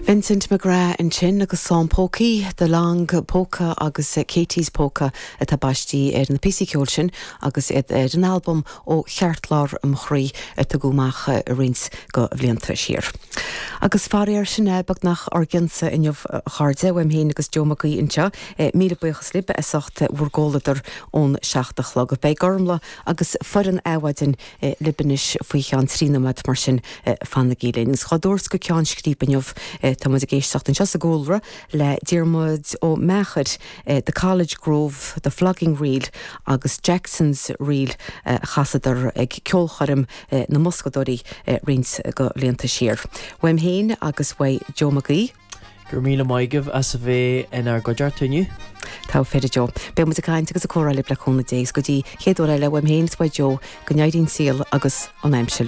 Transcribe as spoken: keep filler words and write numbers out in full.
Vincent McGrath ansin agus Son Pócaí, The Long Polka agus Katie's Polka atá baiste ar na píosaí ceoil sin agus iad ar an albam ó cheartlár an chroí a tugadh amach roinnt de bhlianta siar. Agus faraor sin é beagnach ár gcionsa inniu a chairde uaim féin agus Joe Mac Aoidh anseo, míle buíochas libh as ucht bhur gcomhluadar ón seacht a chlog. Beidh Gormla agus foireann Adhmhaidin libh anois faoi cheann trí nóiméad mar sin fanaigí linn. Agus dhá dtabhairt go ceann scríbe inniu tá muid ag éisteacht anseo sa gcúlra le Diarmuid Ó Meachair, The College Grove, The Flogging Reel agus Jackson's Reel a chasadar ag ceolchoirm na mBoscadóirí roinnt de bhlianta siar. Uaim féin agus uaidh Joe Mac Aoidh. Gur míle maith agaibh as a bheith inár gcuideachta inniu. Tá féidir Joe. Beidh muid ag caint agus ag comhrá libh le cúnamh Dé go dtí chéad uair eile uaim féin is uaidh Joe go n-éiríonn saol agus an aimsir.